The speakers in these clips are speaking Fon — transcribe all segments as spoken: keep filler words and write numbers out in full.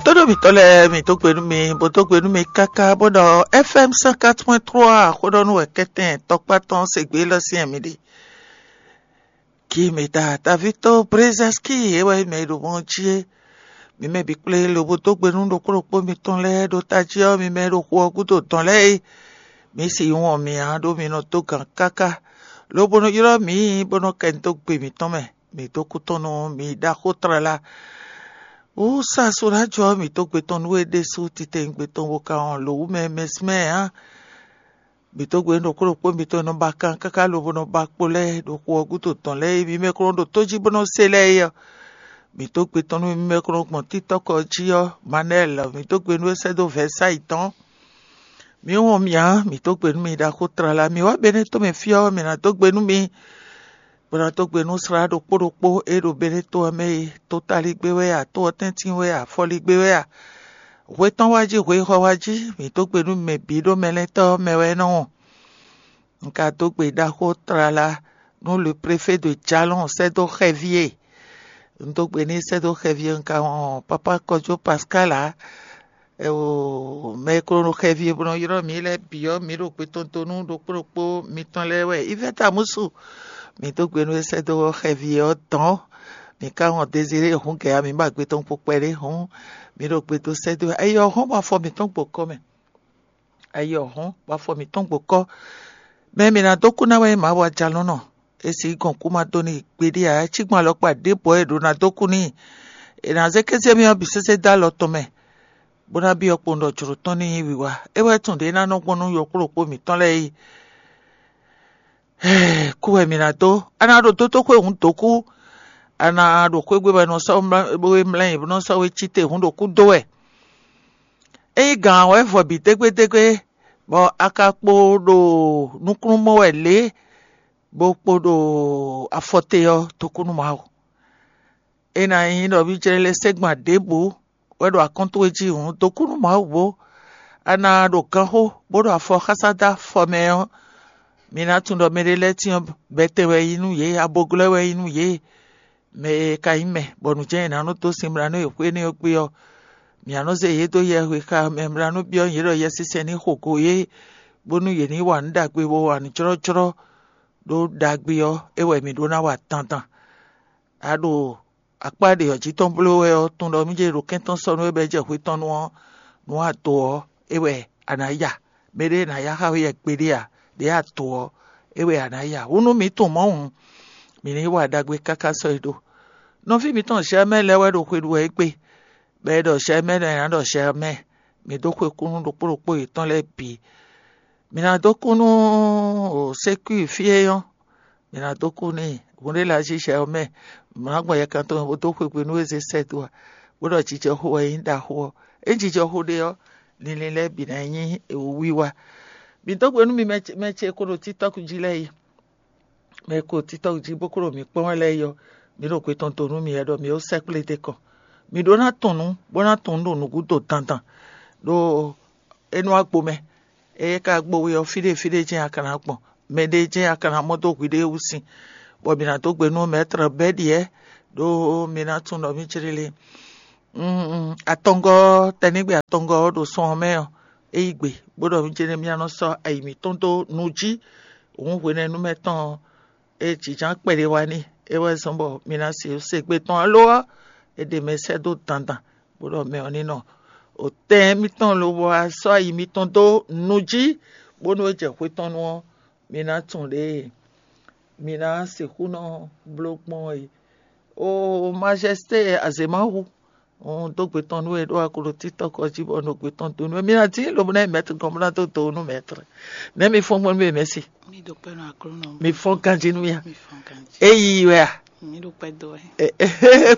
Tóɖó mǐtɔn lɛ́ɛ, mǐ dó gbe nú mi, bó dó gbe nú mi káká bó ɖɔ F M cent quatre point trois xó ɖɔ nú wɛ kɛ́tɛn tɔkpá tɔn se gbé lɔ syɛ́n mi ɖe. Ki mǐ ta taví tó Brezɛ́ski é wɛ mɛ e ɖo mɔ jí é. Mi mɛ bǐ kplé lobo dó gbe nú ɖokpó ɖokpó mitɔn lɛ́ɛ ɖo tají ɔ́, mi mɛ e ɖo xu ɔ́ gúdo dɔn lɛ́ɛ é. Mi si wɔn mǐ ǎ ɖó mi nɔ dó gǎn káká, lobo nɔ ylɔ́ mǐ bó nɔ kɛ dó gbe mǐtɔn mɛ. Mǐ dó kú tɔn nú mi ɖaxó tlala. Wú sa Soɖájɔ mǐ dó gbe tɔn nú we ɖésú titewungbe tɔn bo ka wɔn lǒ wú mɛ mɛsmɛ ǎ. Mǐ dó gbe nú ɖokpó ɖokpó mitɔn e nɔ ba kan káká lobo nɔ ba kpo lɛ́ɛ ɖo xu ɔ́ gúdo dɔn lɛ́ɛ é, mi mɛ ko nɔ ɖo tó jí bó nɔ se lɛ́ɛ é ɔ́. Mǐ dó gbe tɔn nú mi mɛ ko nɔ gbɔn títɔ́kɔ jí ɔ́, Manɛ́ɛl, mǐ dó gbe nú é sɛ́ dó Vɛ̌sáyi tɔn. Mǐ wɔn mǐ ǎ, mǐ dó gbe nú mi ɖaxó tlala. Mǐ wá Benéto mɛ fí ɔ́, mǐ ná dó gbe nú mi, bó ná dó gbe nú slá ɖokpó ɖokpó e ɖo Benéto ɔ́ mɛ é. Tótalígbé wɛ a, tó ɔ́ tɛ́ntin wɛ a, afɔligbé wɛ a, hwe tɔn wá jí, hwe xɔ wá jí, mǐ dó gbe nú mɛ bǐ ɖo mɛlɛ́ntɔ́ ɔ́ mɛ wɛ é nɔ wɔn. Un ka dó gbe ɖaxó tlala nú le préfet de Jalɔn sɛ́ dó xɛví e. Un dó gbe n'i sɛ́ dó xɛví e, un ka wɔn papa Kɔjó Pascal ǎ. Mɛ e ko nɔ xɛví e bó nɔ ylɔ́ mǐ lɛ́ɛ bǐ ɔ́, mǐ ɖo gbe tɔn dó nú ɖokpó ɖokpó mitɔn lɛ́ɛ wɛ. Ivɛ́ta Musu, mǐ dó gbe nú é sɛ́ dó xɛví ɔ́ dɔn. Mǐ ka wɔn Deziré hǔn gɛ̌ ǎ, mǐ ba gbe tɔn kpo kpɛɖé hǔn, mǐ ɖo gbe dó sɛ́ dó. Ayi ɔ́ hɔn bɔ afɔ mǐtɔn gbo kɔ mɛ. Ayi ɔ́ hɔn bɔ afɔ mǐtɔn gbo kɔ. Mɛ e mǐ ná dó kú ná wɛ nyí Mawu ajalɔ̌nɔ. E sixú gɔn kú ma dó n'i gbeɖé ǎ, é cí gbɔn alɔkpa ɖěbǔ ɔ́, è ɖǒ ná dó kú n'i. È nǎ zé kéze mì ɔ́ bǐ sésé dó alɔ tɔn mɛ, bó ná byɔ́ kpowun ɖɔ jlǒ tɔn ní nyí wiwa. É wɛ tunwun ɖě é ná nɔ gbɔn nú yɔkpɔ́ɖokpó mǐtɔn lɛ́ɛ é. Kú wɛ mǐ ná dó. A nǎ ɖo dótóxwé hǔn dǒ kú. A nǎ ɖo xwé gbe bɔ è nɔ sɔ́ we mlá, bó we mlá nyi, bó nɔ sɔ́ we cí te hǔn ɖo kú dó wɛ. Ényí gǎn wɛ vɔ bǐ dégbédégbé, bɔ a ka kpo ɖo nukúnnú mɔ wɛ lě, bó kpo ɖo afɔ te ɔ́, dó kú nú Mawu. É ná nyí ɖɔ mì jlɛ́ lɛ́ sɛ́ gban ɖěbǔ wɛ ɖo akɔ́n towe jí hǔn, dó kú nú Mawu bó. A nǎ ɖo ganxó bó ɖo afɔ xásá dó afɔ mɛ ɔ́, mi ná tunwun ɖɔ mɛɖé lɛ́ɛ cyɔ́n bɛ́tɛn wɛ nyí nú yě, aboglɔ́ wɛ nyí nú yě. Mɛ e ka nyí mɛ, bɔ nǔ jɛ́n è nǎ nɔ dó sin mlá nú yě xwé énɛ́ ɔ́ gbe ɔ́, mǐ nǎ nɔ zé yě dó yɛhwexa mɛ mlá nú byɔ́ yě ɖɔ Yɛsinsɛn ní xo go yě, bónú yě ní wa nǔ ɖagbe bó wa nǔ jlɔ́jlɔ́ ɖó ɖagbe ɔ́, é wɛ mǐ ɖó ná wa dandan. A ɖo akpá ɖě ɔ́ jí tɔn bló wɛ ɔ́, tunwun ɖɔ mì jɛ ɖo kɛ́n tɔn sɔ́ nú é bɔ é jɛ hwe tɔn nu ɔ́, nǔ a do ɔ́, é wɛ a nǎ ya. Mɛɖé ná ya xá we yɛ gbeɖé ǎ, ɖě a do ɔ́, é wɛ a nǎ ya. Hǔn nú mǐ tunwun mɔ̌ hǔn, mǐ ní wa ɖagbe káká sɔ́ yi ɖó. Nɔví mǐtɔn Zhɛmɛ́ lɛ́ɛ wɛ ɖo xwe ɖu wɛ égbé, bɔ è ɖɔ Zhɛmɛ́ lɛ́ɛ ná ɖɔ Zhɛmɛ́. Mǐ dó xwe kú nú ɖokpó ɖokpó yětɔn lɛ́ɛ bǐ. Mǐ ná dó kú nú sékwíi fí e nyɔ́, mǐ ná dó kú n'i. Hǔn ɖé la jí Zhɛmɛ́, mǐ ná gbɔn yɛkan tɔn bó dó xwe gbe nú é zé sɛ́ dó ǎ, bó ɖɔ jijɔxo wɛ nyí ɖaxó ɔ́. Ényí jijɔxo ɖe ɔ́, linlin lɛ́ɛ bǐ ná nyí wiwa. Mǐ dó gbe nú mi mɛ ce, mɛ ce e ko ɖo TikTɔ́k jí lɛ́ɛ yi. Mɛ e ko ɖo TikTɔ́k jí bó ko ɖo mǐ kpɔ́n wɛ lɛ́ɛ yi ɔ́, mǐ ɖo gbe tɔn do nú mi wɛ ɖɔ mǐ ó sɛkplé d'é kɔn. Mǐ ɖó ná tunwun nǔ, bó ná tunwun nǔ ɖo nǔgúdo dandan, ɖó é nú agbo mɛ. Ée ka gbo we ɔ́, fí ɖé fí ɖé jɛ́n a ka ná gbɔn, mɛ ɖé jɛ́n a ka ná mɔ dó hwiɖée wú sin, bɔ mǐ ná dó gbe nú mɛ̌trɔ bɛ́ ɖiɛ, ɖó mi ná tunwun ɖɔ mì jlélé. Atɔngɔ́ ɔ́, tɛnígbe atɔngɔ́ ɔ́ ɖo sɔn ɔ́ mɛ ɔ́, é yí gbe, bó ɖɔ mì jɛ́n mì ná nɔ sɔ́ ayi mǐtɔn dó nu jí. Hǔn hwenɛ́nu mɛ tɔn ɔ́, é jǐjǎn kpɛɖé wá n'i, é wɛ zɔ́n bɔ mi ná se se gbe tɔn alo ɔ́, è ɖe mɛ sɛ́ dó dandan, bó ɖɔ mɛ ɔ́ ní nɔ. Otɛn mitɔn lobo wá sɔ́ ayi mitɔn dó nu jí, bónú é jɛ hwe tɔn nu ɔ́, mi ná tunwun ɖě mi ná sixú nɔ bló gbɔn é. O majɛsité azě ma hu, un dó gbe tɔn nú we ɖó a ko ɖo TikTɔk ɔ́ jí bɔ un ɖo gbe tɔn dó nú we. Mi ná dín lobo ná yi mɛtr gɔ́n bó ná dó do nú mɛtr. Nɛ̌ mi fɔ́n gbɔn nú we mɛ̌si? Mi ɖo kpɛ́ nú Aklúnɔ. Mi fɔ́n ganjí nú mì a? Mi fɔ́n ganjí. Éyi wɛ a? Mi ɖo kpɛ́ dó wɛ.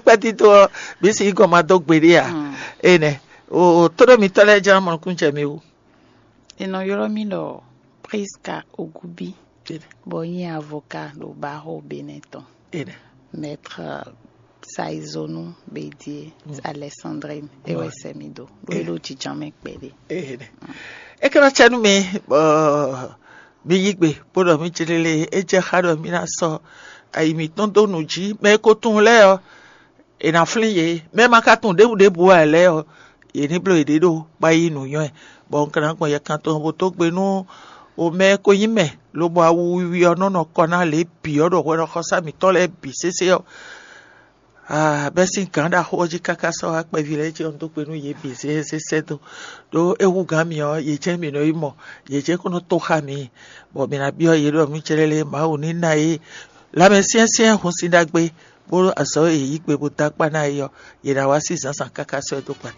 Kpɛ́ dídó ɔ́, mi sì gɔn ma dó gbeɖé a? Mm. Énɛ́. O tóɖó mitɔ́ lɛ́ɛ ján mɔ nukúnnú jɛ mi wú. È nɔ ylɔ́ mì ɖɔ Priska Ogubi, bɔ nyí avocat ɖo Baho Benɛ tɔn. Énɛ́. Maître Saizonu Bédié, Alexandrine, é wɛ sɛ mi dó, ɖó é ɖo jǐján mɛ kpɛɖé. É ka ná cɛ nú mi, bɔ mi yí gbe, bó ɖɔ mì jlélé, é jɛ xá ɖɔ mì ná sɔ́ ayi mǐtɔn dó nǔ jí. Mɛ e ko tunwun lɛ́ɛ ɔ́, è nǎ flín yě. Mɛ e ma ka tunwun ɖěbǔ ɖěbǔ ǎ lɛ́ɛ ɔ́, yě ní bló yěɖée ɖo kpá yí nǔnywɛ́, bɔ un ka ná gbɔn yɛ kan tɔn bó dó gbe nú o mɛ e ko nyí mɛ, lobo awu wiwi ɔ́ nɔ nɔ kɔ ná lě bǐ ɔ́ ɖo hwɛɖɔxɔsá mǐtɔn lɛ́ɛ bǐ sésé ɔ́. Ah, bɛ́ sín gǎn ɖaxó ɔ́ jí káká sɔ́ wá kpɛví lɛ́ɛ jí ɔ́, un dó gbe nú yě bǐ zézé sɛ́ dó. Ɖó é hú gǎn mǐ ɔ́, yě jɛ́n mǐ nɔ yi mɔ, yě jɛ́n kó nɔ tó xá mǐ, bɔ mǐ ná byɔ́ yě ɖɔ mǐ cɛ́lɛ́ lé Mawu ní ná yě lanmɛ syɛ́nsyɛ́n hun sín ɖagbe, bó azɔ̌ e yě yí gbe bó dó akpá ná é ɔ́, yě ná wá sí zǎnzǎn káká sɔ́ ɛ dó gbata.